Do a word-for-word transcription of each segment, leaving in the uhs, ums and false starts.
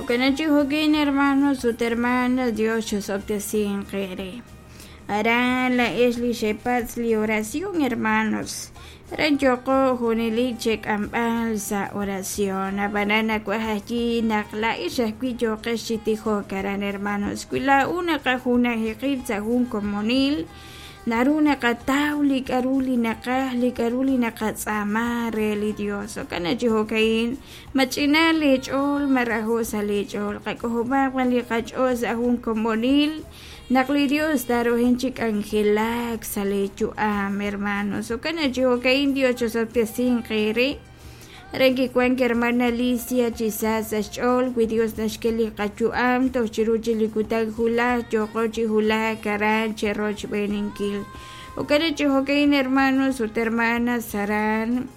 Jo'kan chi jo'kin hermanos ut hermanas, Dios chosob'tesinq eere. Aran laa'ex li xepatz' li oración, hermanos. Aran yooqo junelik chek'amb'al sa' oración. Ab'anan nawaj ajwi' naq laa'ex ajwi' yooqex chi tijok aran, hermanos. Wi laa'u naqajunaji qib' sa' jun komonil, naru naqataw li k'aru li naqaj, li k'aru li naqatz'aama re li Dios. Jo'kan chi jo'ka'in, mach'ina leech'ool, marajo' sa' leech'ool. Qak'ojob'aq b'an li qach'ool sa' jun komonil, naq li Dios tarojen chi k'anjelak sa' leeyu'am, hermanos. Jo'kan chi jo'ka'in, Dios chosob'tesinq eere. Aran kiwank hermana Alicia chi sa sa' xch'ool wi Dios naxk'e li qayu'am toj chiru chi li kutan julaj yooqo chi julaj aran cherochb'eeninkil. Jo'kan chi jo'ka'in, hermanos ut hermanas, aran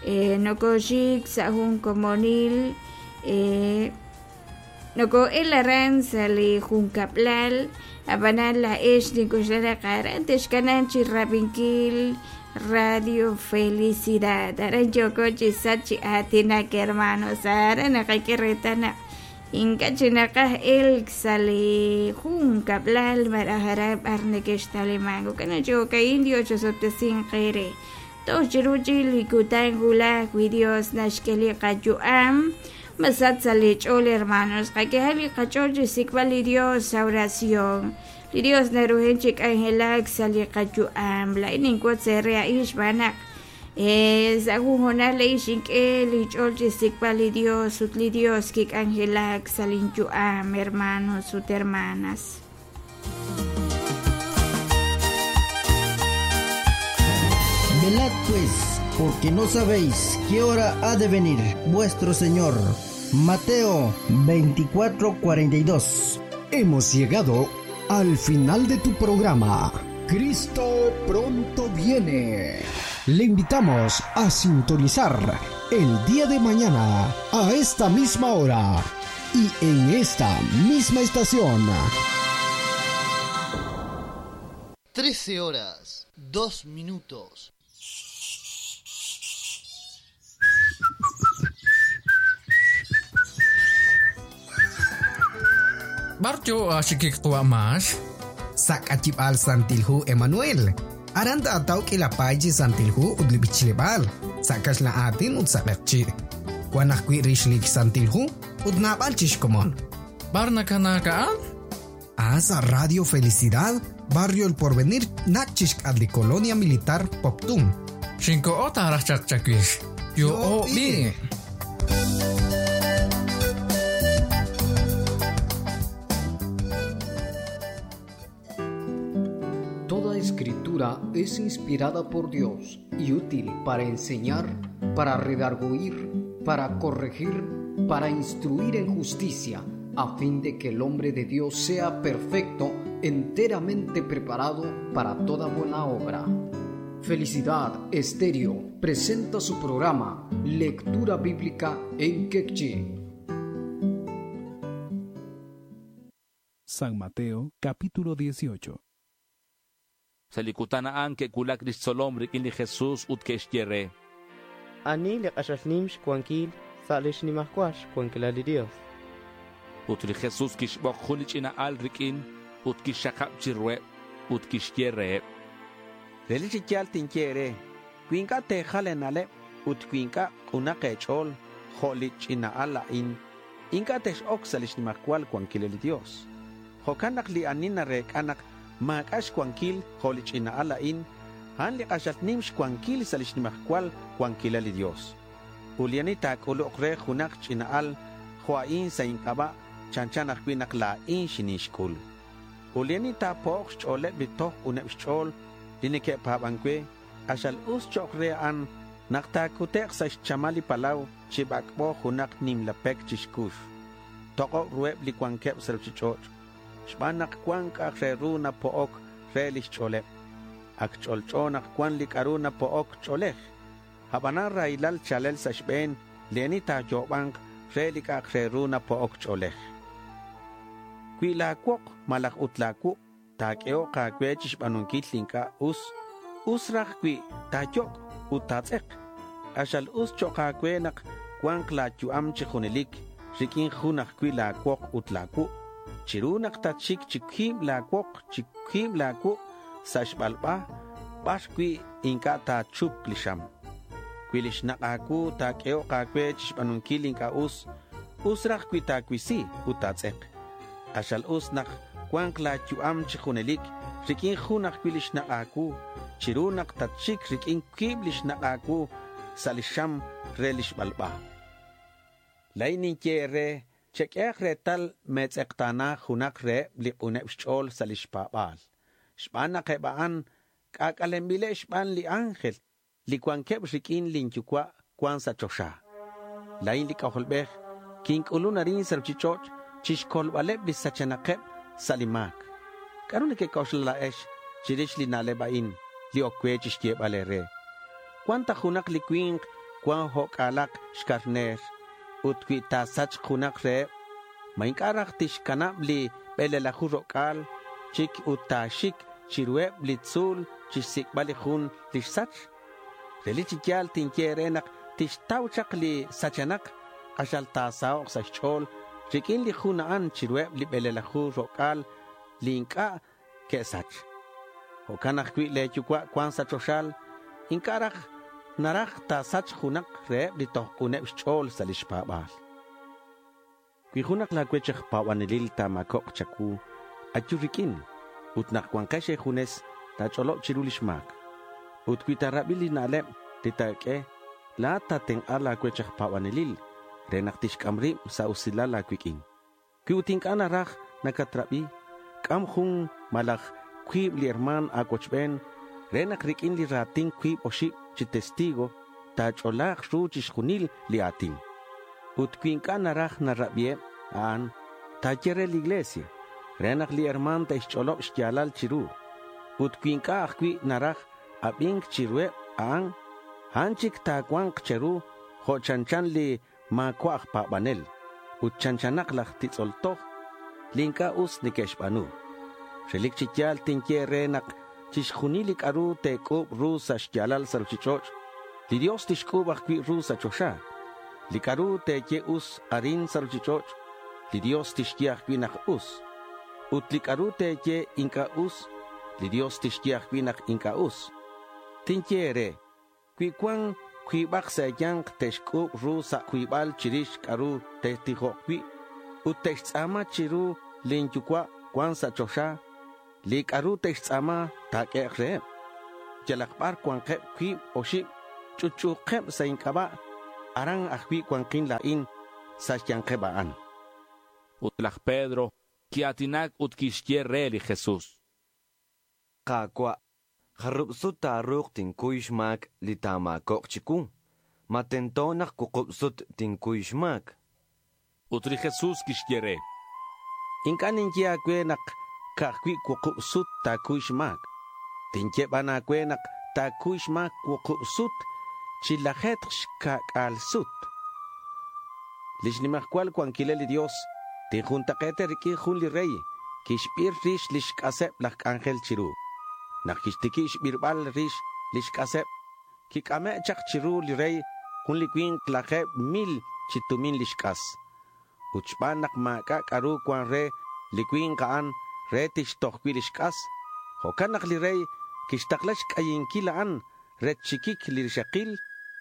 eh, nokoxik sa' jun komonil, eh, noko'el aran sa' li junkab'lal, ab'anan laa'ex ninkuxla naq aran texkanan chi rab'inkil Radio Felicidad. Aran yoko chi sach chi aatinak, hermanos. Aran naqak'e reetal naq ink'a' chi naqaj elk sa' li junkab'lal malaj aran b'ar nekextalimank. Jo'kan chi jo'ka'in, Dios chosob'tesinq eere. Toj chiru chi li kutan wulaj wi Dios naxk'e li qayu'am, masach sa' li ch'ool, hermanos. Qak'ehaq li qach'ool chi xsik'b'al li Dios sa' oración. Li Dios narujen chi k'anjelak sa' li qayu'am. Laa'in ninwotz eere a'in xb'aan naq eh, sa' jun hoonal a'in xink'e li ch'ool chi xsik'b'al li Dios ut li Dios kik'anjelak sa' linyu'am, hermanos ut hermanas. Velad pues, porque no sabéis qué hora ha de venir vuestro Señor. Mateo veinticuatro cuarenta y dos. Hemos llegado al final de tu programa. Cristo pronto viene. Le invitamos a sintonizar el día de mañana a esta misma hora y en esta misma estación. Trece horas, dos minutos. Barjo ashikik mas. Sakatibal Santilhu Emanuel. Aranda ataw kilapay Santilhu udlibichilibal. Sakash la atin utsakchi. Wanakwi rishlik Santilhu udnabal chishkomon. Barnakanakaan? Asa Radio Felicidad, Barrio El Porvenir, Nachishk adli Colonia Militar Poptum. Shinko ota rachakchakish. Yo o bi. Toda escritura es inspirada por Dios y útil para enseñar, para redarguir, para corregir, para instruir en justicia, a fin de que el hombre de Dios sea perfecto, enteramente preparado para toda buena obra. Felicidad Estéreo presenta su programa Lectura Bíblica en Quechí. San Mateo, capítulo dieciocho. Salikutanaan ke kulak lixtzolom rik'in li Jesús ut ke'xye re. Ani li q'axal nim xwankil sa' li xnimajwal xwankilal li Dios. Ut li Jesús kixb'oq jun li ch'ina'al rik'in ut kixxaqab' chiruheb' ut kixye reheb'. Relik chi yaal tinye eere, wi ink'a' teejal eena'leb' ut wi ink'a' q'unaq eech'ool jo' li ch'ina'al a'in, ink'a' tex'ok sa' li xnimajwal wankilal li Dios. Jo'kan naq li ani nareek'a naq maak'a' xwankil jo' li ch'ina'al a'in, a'an li q'axal nim xwankil sa' li xnimajwal wankilal li Dios. Ut li ani taak'uluq re junaq ch'ina'al jo' a'in sa' ink'ab'a' chanchan ajwi' naq laa'in xinixk'ul. Ut li ani taapo'oq xch'ooleb' li toj uneb' xch'ool li neke'paab'ank we, q'axal us cho'q re a'an naq taakute'q sa' xchamal li palaw chi b'ak'b'o junaq nimla pek chi xkux. Toq'ob' ruheb' li wankeb' sa' ruuchich'och', xb'aan naq wan k'a'aq re ru napo'ok re li xch'ooleb'. Ak ch'olch'o naq wan li k'aru napo'ok ch'oolej. Ab'anan rahilal chalel sa' xb'een li ani taayoob'anq re li k'a'aq re ru napo'ok ch'oolej. Wi laawoq malaj ut laawuq' taak'ehoq aawe chi xb'aanunkil li ink'a' us, us raj wi taayok' ut taatz'eq. Q'axal us cho'q aawe naq wanq laayu'am chi junelik, riq'uin jun ajcui' la̱ cuok ut la̱ cuuk. Chiru nak tatxic chi cuib la̱ cuok chi cuib la̱ cuuk sa' xbalba, bar cui' inc'a' ta̱chup li xam. Cui lix nak' a̱cuu ta̱q'uehok a̱cue chixba̱nunquil inc'a' us, us raj cui ta̱cuisi ut ta̱tz'ek. K'axal us nak cua̱nk la̱ yu'am chi junelic riq'uin jun ajcui' lix nak' a̱cuu chiru nak tatxic riq'uin cuib lix nak' a̱cuu sa' li xam re li xbalba. La̱in ninye e̱re, cheq'uehak retal me̱tz'ekta̱na junak reheb li k'uneb xch'o̱l sa' lix pa̱ba̱l. Xban nak eb a'an c'ac'alenbileb xban li ángel li cuanqueb riq'uin lin yucua' cuan sa' choxa. La̱in li C'ajolbej quinc'ulun arin sa' ruchich'och' chixcolbaleb li sachenakeb sa' li ma̱c. ¿C'a'ru nequec'oxla la̱ex chirix li na'leb a'in li oc cue chixyebal e̱re? Cuan ta junak li cui̱nk cuan jo'c'a̱lak xcarner ut cui ta̱sachk junak reheb, ma inc'a' raj tixcanab li bele̱laju ro'c'a̱l chic ut ta̱xic chiruheb li tzu̱l chixsic'bal li jun li xsach? Relic chi ya̱l tinye e̱re nak tixtau chak li sachenak, k'axal ta̱sahok' sa' xch'o̱l riq'uin li jun a'an chiruheb li bele̱laju ro'c'a̱l li inc'a' que'sach. Jo'can ajcui' le̱ yucua' cuan sa' choxal, inc'a' raj naraj ta̱sachk junak reheb li toj k'uneb xch'o̱l sa' lix pa̱ba̱l. Cui junak la̱ cuech aj pa̱banelil ta̱ma̱cobk cha̱cuu, ayu riq'uin ut nak cuankex e̱junes ta̱ch'olob chiru lix ma̱c. Ut cui ta̱rabi li na'leb li ta̱q'ue, la̱at ta̱tenk'a la̱ cuech aj pa̱banelil re nak tixc'am rib sa' usilal a̱cuiq'uin. Cui ut inc'a' naraj nacatrabi, c'am jun malaj cuib li herma̱n a̱cuochben re nak riq'uin li ra̱tin cuib oxib chi testigo ta̱ch'ola̱k ru chixjunil li a̱tin. Ut cui inc'a' naraj narabieb a'an, ta̱ye re li iglesia re nak li herma̱n te'xch'olob xya̱lal chiru. Ut cui inc'a' ajcui' naraj abi̱nc chiruheb a'an, a'an chic ta̱cua̱nk che̱ru jo' chanchan li ma̱cua' aj pa̱banel ut chanchanak laj titz'ol toj li inc'a' us neque'xba̱nu. Relic chi ya̱l tinye re nak chixjunil li c'a'ru te̱c'u̱b ru sa' xya̱lal sa' ruchich'och', li Dios tixc'u̱b ajcui' ru sa' choxa. Li c'a'ru te̱ye us arin sa' ruchich'och', li Dios tixye ajcui' nak us. Ut li c'a'ru te̱ye inc'a' us, li Dios tixye ajcui' nak inc'a' us. Tinye re, cui cuan cuibak sa' e̱ya̱nk te'xc'u̱b ru sa' cuibal chirix c'a'ru te'tijok cui' ut te'xtz'a̱ma chiru lin yucua' cuan sa' choxa, li c'a'ru te'xtz'a̱ma ta̱q'uehek reheb. Yalak bar cuankeb cuib oxib ch'utch'u̱keb sa' inc'aba', aran ajcui' cuanquin la̱in sa' xya̱nkeb a'an. Ut laj Pedro quia̱tinac ut quixye re li Jesús. Ka̱cua', jarub sut ta̱ru̱k tincuy xma̱c li ta̱ma̱cok chicuu. Ma tento nak cuukub sut tincuy xma̱c. Ut li Jesús quixye re. Inc'a' ninye a̱cue nak ca'ajcui' cuukub sut ta̱cuy xma̱c. Tinye ban a̱cue nak ta̱cuy xma̱c cuukub sut chi lajetk xca'c'a̱l sut. Lix nimajcual cuanquilal li Dios tinjuntak'e̱te riq'uin jun li rey quixbir rix lix c'aseb laj c'anjel chiru. Nak quixtiqui xbirbal rix lix c'aseb, quic'ame' chak chiru li rey jun li cui̱nk lajeb mil chi tumin lix c'as. Ut xban nak ma̱c'a' c'a'ru cuan re li cui̱nk a'an re tixtoj cui' lix c'as. Jo'can nak li rey quixtakla xc'ayinquil a'an re chiquic li rixakil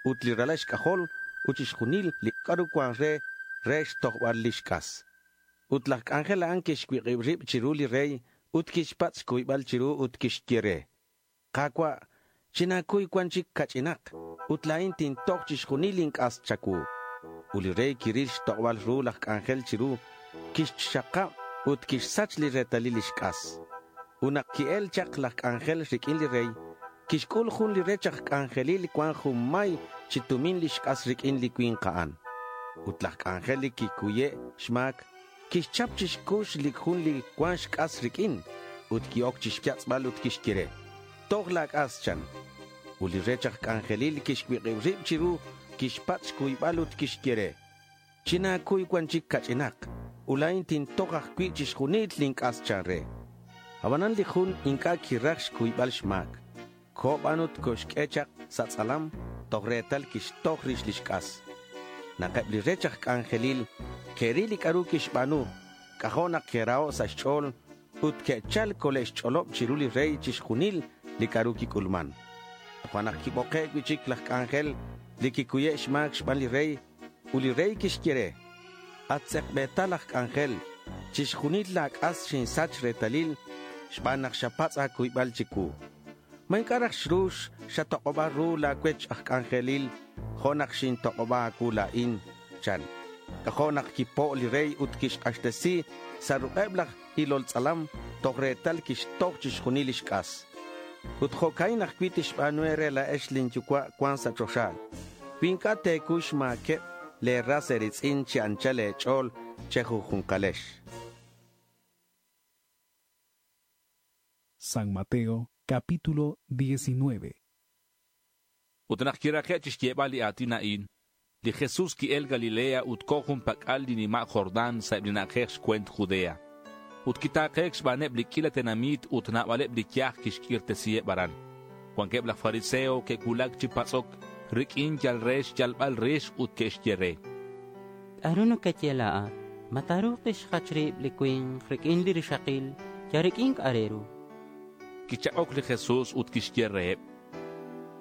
ut li ralal xc'ajol ut chixjunil li c'a'ru cuan re re xtojbal lix c'as. Ut laj c'anjel a'an quixcuik'ib rib chiru li rey ut quixpatz' xcuybal chiru ut quixye re. Ka̱cua', chinacuy cuan chic cach'inak ut la̱in tintoj chixjunil lin c'as cha̱cuu. Ut li rey quiril xtok'bal ru laj c'anjel chiru, quixxakab ut quixsach li retalil lix c'as. Ut nak qui-el chak laj c'anjel riq'uin li rey, quixc'ul jun li rech aj c'anjelil cuan jun may chi tumin lix c'as riq'uin li cui̱nk a'an. Ut laj c'anjel li quicuye' xma̱c, quixchap chixcux li jun li cuan xc'as riq'uin ut qui'oc chixyatz'bal ut quixye re. Toj la c'as chan. Ut li rech aj c'anjelil quixcuik'ib rib chiru, quixpatz' xcuybal ut quixye re. Chinacuy cuan chic cach'inak, ulain tintoj ajcui' chixjunil lin c'as chan re. Abanan li jun inc'a' quiraj xcuybal xma̱c. Coban ut coxq'ue chak sa' tz'alam, toj retal quixtoj rix lix c'as. Nak eb li rech aj c'anjelil Ke'ril li k'a'ru kixb'aanu, k'ajo' nak ke'raho' sa' xch'o̱l ut ke'chal cole'xch'olob chiru li rey chixjunil li k'a'ru quic'ulman. Toja' nak quiboke' cui'chic laj c'anjel li quicuye' xma̱c xban li rey ut li rey quixye re, At tz'ekbe̱tal aj c'anjel, chixjunil la̱ c'as xinsach retalil xban nak xapatz' a̱cuybal chicuu. ¿Ma inc'a' raj xru xatok'oba ru la̱ cuech aj c'anjelil jo' nak xintok'oba a̱cuu la̱in? chan. C'ajo' nak quipo' li rey ut quixk'axtesi sa' ruk'eb laj ilol tz'alam toj retal quixtoj chixjunil lix c'as. Ut jo'ca'in ajcui' tixba̱nu e̱re la̱ex lin Yucua' cuan sa' choxa cui inc'a' te̱cuy xma̱queb le̱ ras e̱ri̱tz'in chi anchal e̱ch'o̱l chejunju̱nkalex. San Mateo, capítulo diecinueve. Ut nak kirake' chixyebal li aatin a'in, li Jesús ki'el Galilea ut ko jun pak'al li nima' Jordán sa' eb li na'ajej xcuent Judea. Ut kitake'k xb'aaneb li k'iila tenamit ut naab'aleb li yaj kixk'irtesiheb aran. Cuanqueb laj fariseo ke'cuulac chi patz'oc riq'uin yal re xyalbal rix ut ke'xye re. K'a'ru nakaye laa'at? Ma taruuq tixjach rib li cui̱nk riq'uin li rixakil ya riq'uin k'a' re ru? Kichak'oc li Jesús ut kixye reheb.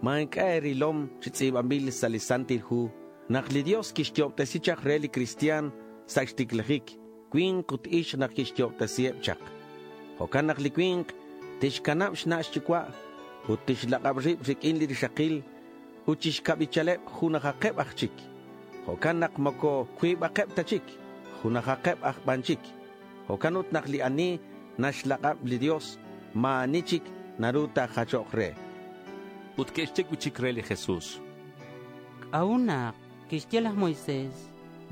Ma inc'a' erilom chi tz'i̱banbil sa' li Santil Hu nak li Dios quixyo'obtesi chak re li cristian sa' xticlajic, cui̱nk ut ixk nak quixyo'obtesiheb chak. Jo'can nak li cui̱nk tixcanab xna' xyucua' ut tixlak'ab rib riq'uin li rixakil ut chixcabichaleb junajakeb aj chic. Jo'can nak moco cuibakeb ta chic, junajakeb aj ban chic. Jo'can ut nak li ani naxlak'ab li Dios, ma̱ ani chic naru ta̱jachok re. Ut ke'xye cui'chic re li Jesús. K'a'ut nak kixye laj Moisés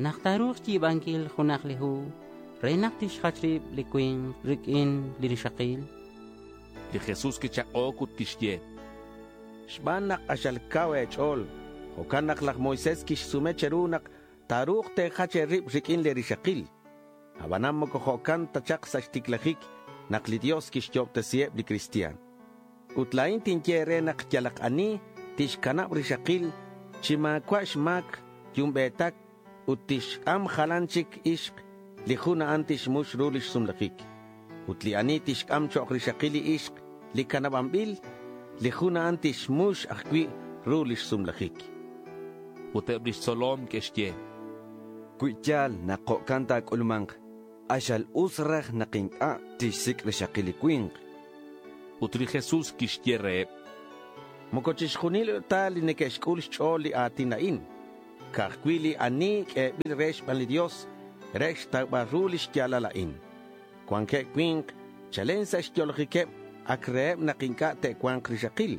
nak taruuq xyi̱banquil junak li hu re nak tixjach rib li cui̱nk riq'uin li rixakil? Li Jesús kichak'oc ut kixye. Xb'aan nak q'axal kaw eech'ool, jo'kan nak laj Moisés kixsume cheru nak taruuq teejach eerib rik'in li rixakil. Ab'anan moko jo'kan ta chaq sa' xtiklajik nak li Dios kixyo'ob'tesiheb li cristian. Ut laa'in tinye eere naq yalaq ani tixkanab' rixakil chi maawa' xmaak yumbeetak ut tixk'am jalan chik ixq, li jun a'an tixmux ru lix sumlajik. Ut li ani tixk'am cho'q rixakil li ixq li kanab'anb'il, li jun a'an tixmux ajcui' ru lix sumlajik. Ut eb lix tzolom ke'xye. Cui yaal nak jo'kan ta̱c'ulma̱nk, q'axal us raj nak inc'a' tixsic' rixakil li cui̱nk. Ut li Jesús kixye reheb. Moko chixjunil ta li neke'xc'ul xch'ool li aatin a'in. Ka'ajwi' li ani k'eeb'il re xb'aan li Dios re xtawb'al ru lix yaalal a'in. Cuanqueb cui̱nk chalen sa' xyo'lajiqueb ak reheb nak inc'a' te'cua̱nk rixakil.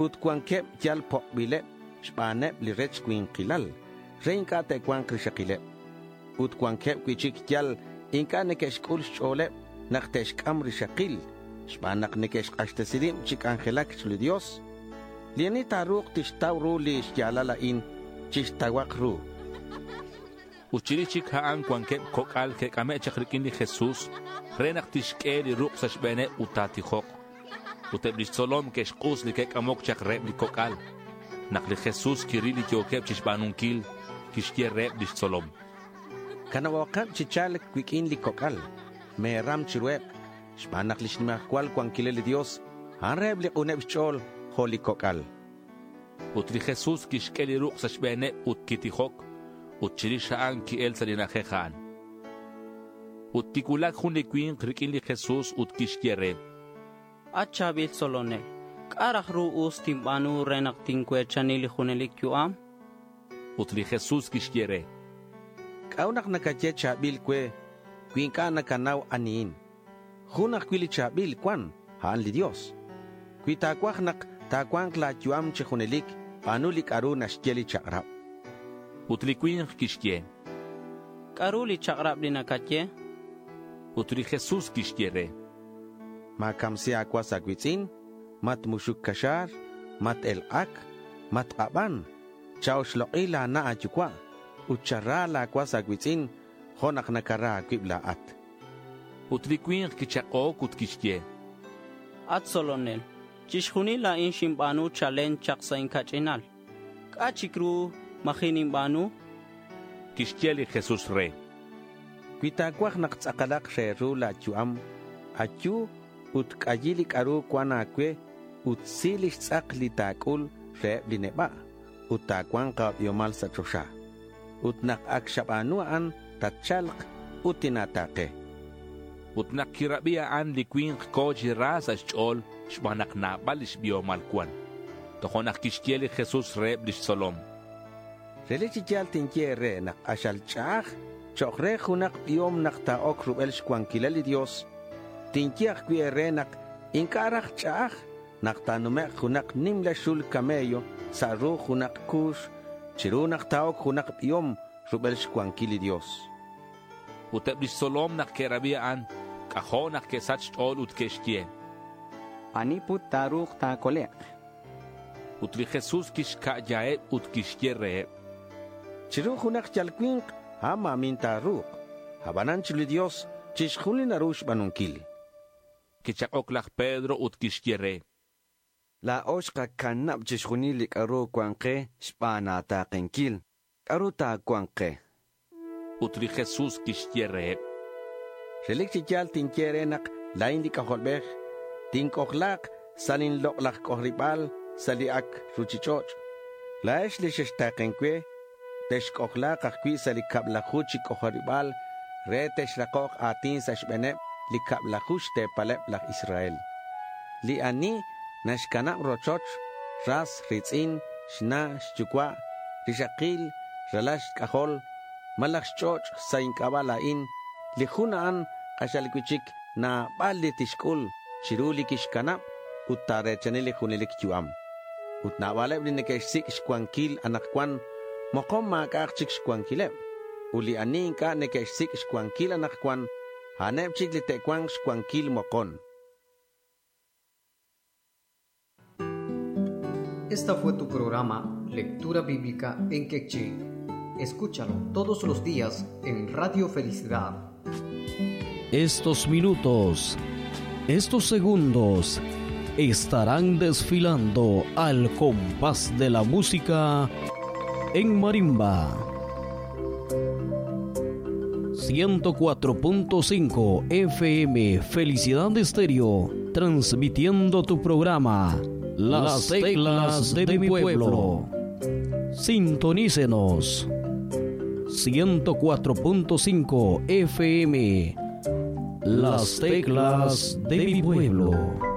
Ut cuanqueb yal pokbileb xbaneb li rech cui̱nkilal re inc'a' te'cua̱nk rixakileb. Ut cuanqueb cui'chic yal inc'a' neque'xc'ul xch'o̱leb nak te'xc'am rixakil xb'aan nak neque'xk'axtesi rib chi c'anjelac chiru li Dios. Li ani ta̱ru̱k tixtaw ru li xya̱lal a'in chixtauhak ru. Ut chirix chic a'an cuanqueb coc'al ke'c'ame' chak riq'uin li Jesús re nak tixq'ue li ruk' sa' xbe̱neb ut ta̱tijok. Ut eb lix tzolom ke'xk'us li ke'c'amoc chak reheb li coc'al. Nak li Jesús kiril li yo̱queb chixba̱nunquil, quixye reheb lix tzolom. Canabokeb chi cha̱lc cuiq'uin li coc'al. Me̱ram chiruheb. Xb'aan nak lix nimajcual cuanquilal li Dios, a'an reheb li k'uneb xch'o̱l jo' li coc'al. Ut li Jesús quixq'ue li ruk' sa' xbe̱neb ut quitijok. Ut chirix a'an ki'el sa' li na'ajej a'an. Ut kicuulac jun li cui̱nk riq'uin li Jesús ut quixye re. At cha̱bil tzolonel, k'a' raj ru us tinba̱nu re nak tincue̱chani li junelic yu'am? Ut li Jesús quixye re. K'a'ut nak nakaye cha̱bil cue cui inc'a' nacanau anihin? Jun ajcui' li cha̱bil cuan, a'an li Dios. Cui ta̱cuaj nak ta̱cua̱nk la̱ yu'am chi junelic, ba̱nu li c'a'ru naxye li chak'rab. Ut li cui̱nk quixye. K'a'ru li chak'rab li nacaye? Ut li Jesús quixye re. Ma̱camsi a̱cuas a̱cui̱tz'in, matmuxuc caxa̱r, mat-elk'ac, matk'aban, chaoxlok'i la̱ na' a̱yucua' ut chara la̱ cuas a̱cui̱tz'in jo' nak nacara a̱cuib la̱at. Ut li cui̱nk quichak'oc ut quixye. At tzolonel, chixjunil a'in xinba̱nu chalen chak sa' incach'inal. C'a' chic ru maji' ninba̱nu? Quixye li Jesús re. Cui ta̱cuaj nak tz'akalak re ru la̱ yu'am, ayu ut c'ayi li c'a'ru cuan a̱cue ut si lix tz'ak li ta̱c'ul reheb li neba' ut ta̱cua̱nk a̱biomal sa' choxa. Ut nak ac xaba̱nu a'an, tatcha̱lk ut tina̱ta̱ke. Ut nak quirabi a'an li cui̱nk co̱ chi ra sa' xch'o̱l xban nak nabal lix biomal cuan. Tojo'nak quixye li Jesús reheb lix tzolom: Relic chi ya̱l tinye e̱re nak k'axal ch'a'aj chok' re junak biom nak ta̱oc rubel xcuanquilal li Dios. Tinye ajcui' e̱re nak inc'a' raj ch'a'aj nak ta̱numek' junak nimla xul camello sa' ru junak cu̱x chiru nak ta̱oc junak biom rubel xcuanquil li Dios. Ut eb lix tzolom nak que'rabi a'an, c'ajo' nak que'sach xch'o̱l ut que'xye: Ani put ta̱ru̱k ta̱colek'? Ut li Jesús quixca'yaheb ut quixye reheb: Chiru junak yal cui̱nk, a'an ma̱min ta̱ru̱k. Abanan chiru li Dios chixjunil naru xba̱nunquil. Quichak'oc laj Pedro ut quixye re: La̱o xkacanab chixjunil li c'a'ru cuan ke xban a̱ta̱kenquil. ¿C'a'ru ta̱cua̱nk ke? Ut li Jesús quixye reheb: Relic chi ya̱l tinye e̱re nak la̱in li C'ajolbej tinc'ojla̱k sa' lin lok'laj c'ojariba̱l sa' li ac' ruchich'och'. La̱ex li xexta̱ken cue, texc'ojla̱k ajcui' sa' li cablaju chi c'ojariba̱l re texrakok a̱tin sa' xbe̱neb li cablaju xte̱paleb laj Israel. Li ani naxcanab rochoch, ras, ri̱tz'in, xna', xyucua', rixakil, ralal xc'ajol, malaj xch'och' sa' inc'aba' la̱in, li jun a'an k'axal cui'chic nabal li tixc'ul chiru li quixcanab ut ta̱re̱chani li junelic yu'am. Ut nabaleb li neque'xsic' xcuanquil anakcuan, mokon ma̱c'a'ak chic xcuanquileb. Ut li ani inc'a' neque'xsic' xcuanquil anakcuan, a'aneb chic li te'cua̱nk xcuanquil mokon. Esta fue tu programa Lectura Bíblica en Quechí. Escúchalo todos los días en Radio Felicidad. Estos minutos, estos segundos, estarán desfilando al compás de la música en marimba. ciento cuatro punto cinco F M Felicidad Estéreo, transmitiendo tu programa Las Teclas de mi Pueblo. Sintonícenos. ciento cuatro punto cinco F M Las Teclas de mi Pueblo.